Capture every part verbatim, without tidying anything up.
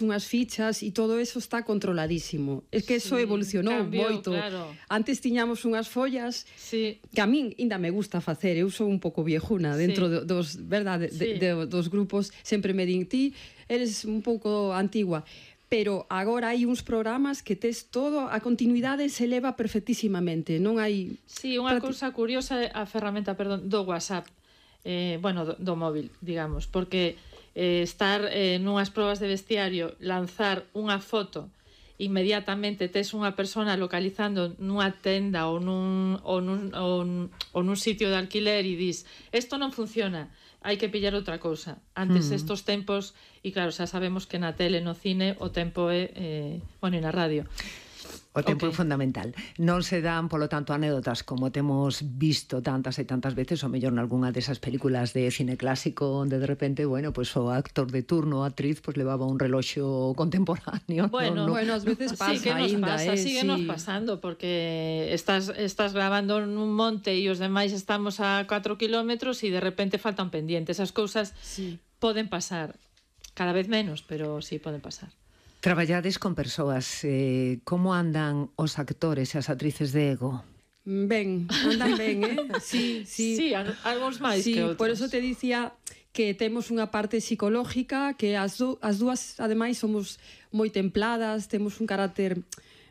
unhas fichas e todo eso está controladísimo. É que eso Sí, evolucionou cambiou, moito. claro. Antes tiñamos unhas follas Sí. que a min ainda me gusta facer. Eu sou un pouco viejuna dentro Sí. do- dos, verdade, Sí. de, de, dos grupos. Sempre me din, ti eres un pouco antigua. Pero agora hai uns programas que tes todo, a continuidade se leva perfectísimamente. Non hai... Sí, unha Prati- cousa curiosa é a ferramenta, perdón, do WhatsApp. Eh, bueno, do, do móvil, digamos, porque eh, estar eh, nunhas probas de vestiario, lanzar unha foto, inmediatamente tes unha persona localizando nunha tenda ou nun, ou nun, ou nun, ou nun sitio de alquiler e dis, isto non funciona, hai que pillar outra cousa. Antes Mm. estos tempos, e claro, xa sabemos que na tele, no cine, o tempo é, eh, bueno, e na radio. O tempo Ok. é fundamental. Non se dan, polo tanto, anécdotas como temos visto tantas e tantas veces, ou mellor nalgúna desas películas de cine clásico onde de repente, bueno, pues o actor de turno, a actriz, pues levaba un reloxo contemporáneo. Bueno, no, no. Bueno, ás veces pasa sí que nos aínda, pasa, eh, síguenos sí. pasando, porque estás, estás grabando nun monte e os demais estamos a catro kilómetros e de repente faltan pendientes. Esas cousas Sí. poden pasar, cada vez menos, pero sí poden pasar. Traballades con persoas, eh, como andan os actores e as actrices de Ego? Ben, andan ben, eh? Sí, sí. Sí, al- algúns máis Sí, que outros. por eso te dicía que temos unha parte psicológica, que as, du as dúas, ademais, somos moi templadas, temos un carácter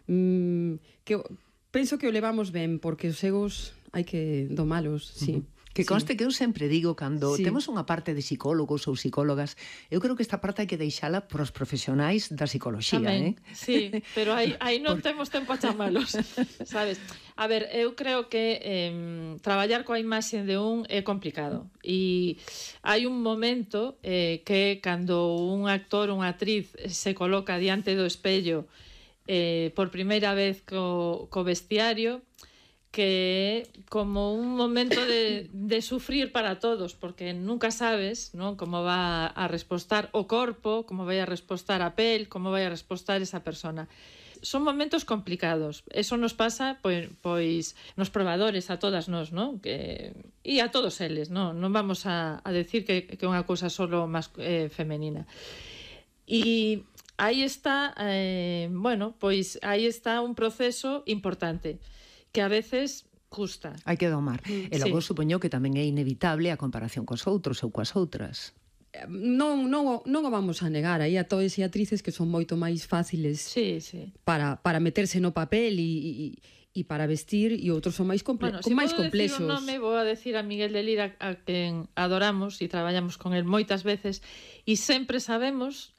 mm, que o- penso que o levamos ben, porque os egos hai que domalos, sí. Que conste Sí. que eu sempre digo cando Sí. temos unha parte de psicólogos ou psicólogas, eu creo que esta parte hai que deixala pros profesionais da psicoloxía, eh? Tamén, sí, pero aí, aí non temos tempo a chamalos, sabes? A ver, eu creo que eh, traballar coa imaxe de un é complicado e hai un momento eh, que cando un actor, unha actriz se coloca diante do espello eh, por primeira vez co, co vestiario, que é como un momento de, de sufrir para todos, porque nunca sabes, non, como va a respostar o corpo, como vai a respostar a pel, como vai a respostar esa persona. Son momentos complicados. Eso nos pasa pois, pois nos probadores a todas nós, non? Que e a todos eles, non? Non vamos a, a decir que que é unha cousa solo mas, eh, femenina. E aí está, eh, bueno, pois aí está un proceso importante que a veces custa. Hai que domar. Mm, E logo sí. supoño que tamén é inevitable a comparación cos outros ou coas outras. Non, non, o- non o vamos a negar, aí a todos e actrices que son moito máis fáciles Sí, sí. para, para meterse no papel e, e, e para vestir, e outros son máis, comple Bueno, con se máis podo decir complexos. un nome, vou a decir a Miguel de Lira, a quen adoramos e traballamos con el moitas veces, e sempre sabemos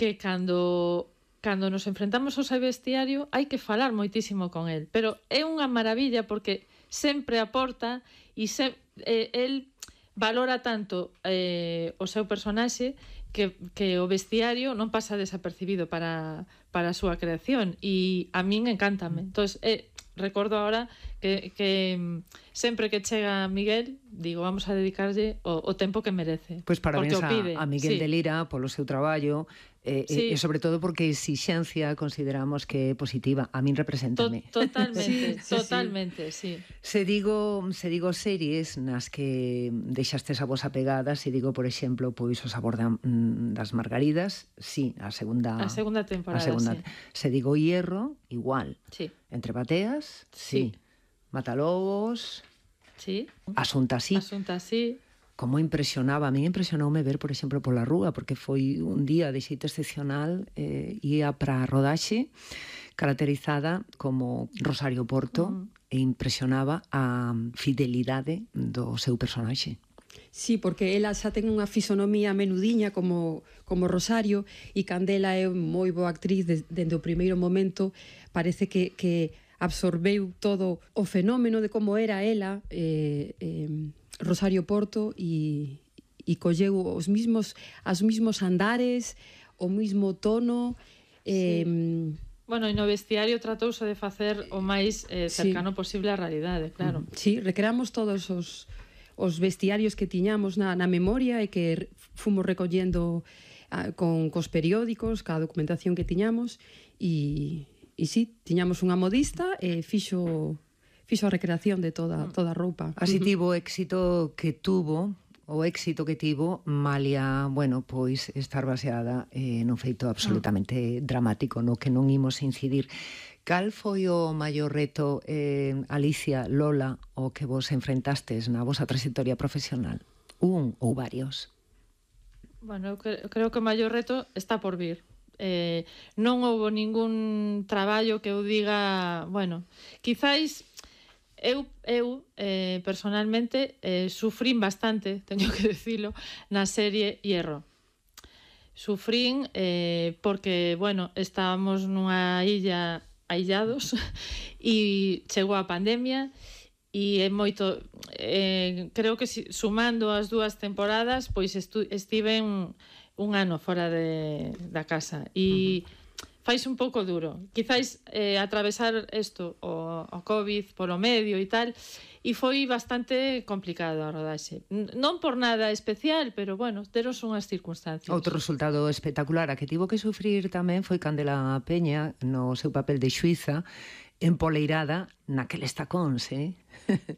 que cando cando nos enfrentamos ao seu vestiario hai que falar moitísimo con el, pero é unha maravilla porque sempre aporta e se, eh, el valora tanto eh, o seu personaxe que, que o vestiario non pasa desapercibido para, para a súa creación e a min encántame. Entón, eh, recordo ahora que, que sempre que chega Miguel, digo, vamos a dedicarlle o, o tempo que merece. Pois parabéns porque o pide. a, a Miguel Sí. de Lira polo seu traballo e, Sí. e, e sobre todo porque a exixencia consideramos que é positiva. A min To, represéntame. totalmente, Sí, sí, totalmente, sí. Se digo, se digo series nas que deixastes a vosa pegada, se digo, por exemplo, pois o sabor da, mm, das margaridas, sí, a segunda A segunda temporada, a segunda. sí. Se digo Hierro, igual. Sí. Entre bateas, sí. Sí. Matalobos, Sí. Asunta así. Asunto así. Como impresionaba, a mí impresionoume ver, por exemplo, pola rúa, porque foi un día de xeito excepcional, eh, ia para a rodaxe caracterizada como Rosario Porto, uh -huh. e impresionaba a fidelidade do seu personaxe. Sí, porque ela xa ten unha fisonomía menudiña como, como Rosario, e Candela é moi boa actriz de, dende o primeiro momento. Parece que, que absorbeu todo o fenómeno de como era ela, eh, eh, Rosario Porto, e, e colleu os mismos, os mismos andares, o mismo tono. Eh, Sí. Bueno, e no vestiario tratouse de facer o máis eh, cercano sí. posible á realidade, claro. Sí, recreamos todos os, os vestiarios que tiñamos na, na memoria e que fomos recollendo ah, con cos periódicos, ca documentación que tiñamos, e, e sí, tiñamos unha modista e fixo, fixo a recreación de toda, toda a roupa. Así tivo o éxito que tuvo o éxito que tivo, malia, bueno, pois estar baseada eh, nun feito absolutamente dramático, no que non imos incidir. Cal foi o maior reto, eh, Alicia, Lola, o que vos enfrentastes na vosa trayectoria profesional? Un ou varios? Bueno, eu creo que o maior reto está por vir. Eh, non houve ningún traballo que eu diga, bueno, quizáis eu, eu eh, personalmente eh, sufrín bastante, teño que decilo, na serie Hierro. Sufrín eh, porque, bueno, estábamos nunha illa aillados e chegou a pandemia e é moito, eh, creo que si, sumando as dúas temporadas, pois estu, estive un, un ano fora de, da casa e uh-huh. Fais un pouco duro. Quizáis eh, atravesar isto, o, o COVID, polo medio e tal, e foi bastante complicado a rodaxe. Non por nada especial, pero, bueno, teros unhas circunstancias. Outro resultado espectacular a que tivo que sufrir tamén foi Candela Peña no seu papel de Xuíza, empoleirada naqueles tacóns, eh?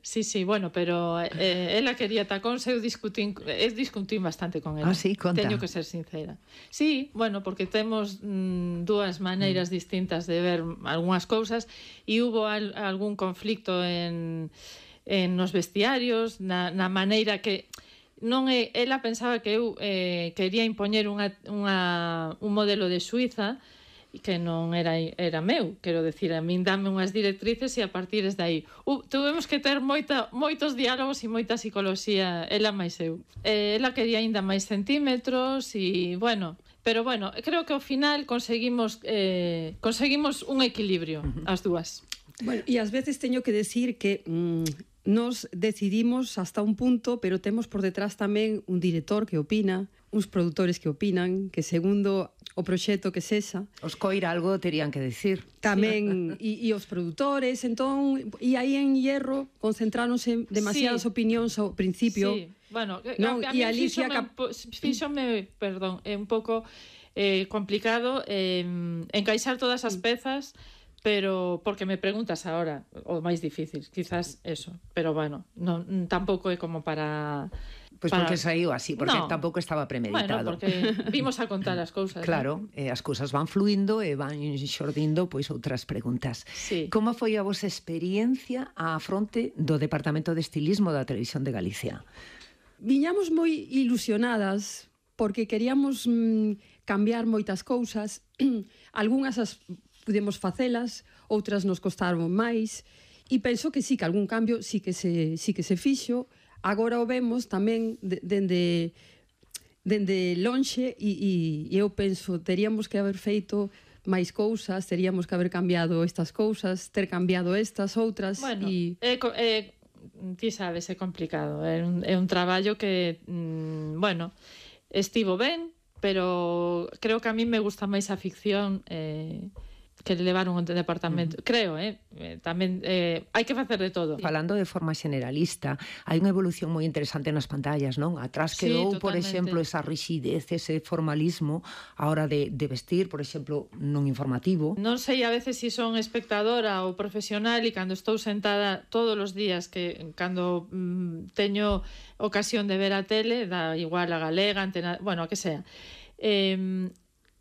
Sí, sí, bueno, pero eh, ela quería tacóns, eu discutín, eu discutín bastante con ela. Ah, sí, conta. Teño que ser sincera. Sí, bueno, porque temos mm, dúas maneiras mm. distintas de ver algunhas cousas e hubo al, algún conflicto en, en nos vestiarios, na, na maneira que non é, ela pensaba que eu eh, quería impoñer unha, unha, un modelo de Suiza que non era, era meu, quero decir, a min dame unhas directrices e a partir de aí uh, tuvemos que ter moita, moitos diálogos e moita psicoloxía, ela máis eu. Eh, ela quería aínda máis centímetros e, bueno, pero, bueno, creo que ao final conseguimos eh, conseguimos un equilibrio, as dúas. Bueno, e ás veces teño que decir que mmm, nos decidimos hasta un punto, pero temos por detrás tamén un director que opina, uns produtores que opinan, que segundo o proxecto que sexa. Os coira algo terían que decir. Tamén, e, e os produtores, entón, e aí en Hierro concentráronse demasiadas sí. opinións ao principio. Sí, bueno, no, a, a, a mí Alicia Cap... fíxome, perdón, é un pouco eh, complicado eh, encaixar todas as pezas, pero porque me preguntas ahora, o máis difícil, quizás eso, pero bueno, non, tampouco é como para... Pois pues porque saiu así, porque no. tampouco estaba premeditado. Bueno, porque vimos a contar as cousas. Claro, ¿no? eh, as cousas van fluindo e van xordindo pois outras preguntas. Sí. Como foi a vosa experiencia á fronte do Departamento de Estilismo da Televisión de Galicia? Viñamos moi ilusionadas porque queríamos mm, cambiar moitas cousas. Algúnas as pudemos facelas, outras nos costaron máis, e penso que sí, que algún cambio sí que se, sí que se fixo. Agora o vemos tamén dende dende lonxe e, e eu penso, teríamos que haber feito máis cousas, teríamos que haber cambiado estas cousas, ter cambiado estas, outras. Bueno, e... é, é, ti sabes, é complicado, é un, é un traballo que, mmm, bueno, estivo ben, pero creo que a mí me gusta máis a ficción eh, que levaron o departamento, uh-huh. creo, eh, tamén eh, hai que facer de todo. Falando de forma generalista, hai unha evolución moi interesante nas pantallas, non? Atrás quedou, sí, por exemplo, esa rigidez, ese formalismo a hora de, de vestir, por exemplo, nun informativo. Non sei a veces se si son espectadora ou profesional e cando estou sentada todos os días, que cando mm, teño ocasión de ver a tele, da igual a galega, antena, bueno, a que sea, eh,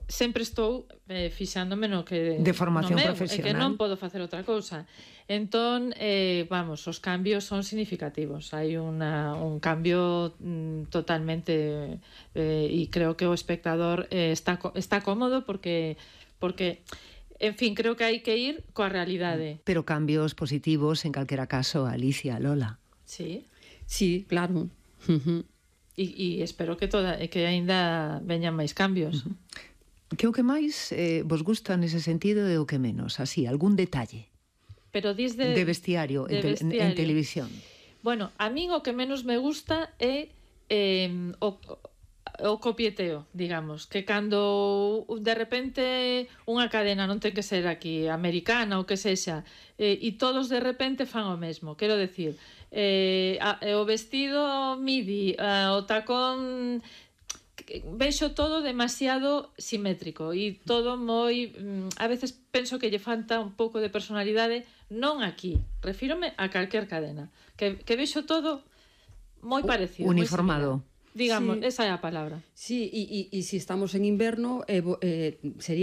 sempre estou eh, fixándome no que de formación no meu, profesional, e que non podo facer outra cousa. Entón, eh, vamos, os cambios son significativos. Hai una, un cambio mm, totalmente eh, e creo que o espectador eh, está está cómodo porque porque en fin, creo que hai que ir coa realidade. Pero cambios positivos en calquera caso, Alicia, Lola. Sí. Sí, claro. Uh-huh. E, e espero que toda que aínda veñan máis cambios. Uh-huh. Que o que máis eh, vos gusta nese sentido e o que menos? Así, algún detalle? Pero dis de... De vestiario, de en, te, vestiario. en televisión. Bueno, a min o que menos me gusta é eh, o, o copieteo, digamos. Que cando de repente unha cadena non ten que ser aquí americana ou que sexa, eh, e todos de repente fan o mesmo. Quero decir, eh, a, o vestido midi, a, o tacón... vexo todo demasiado simétrico e todo moi, a veces penso que lle falta un pouco de personalidade, non aquí, refírome a calquer cadena, que, que vexo todo moi parecido. Uniformado. Digamos, sí. esa é a palabra. Sí, e, e, e se estamos en inverno, eh, eh, sería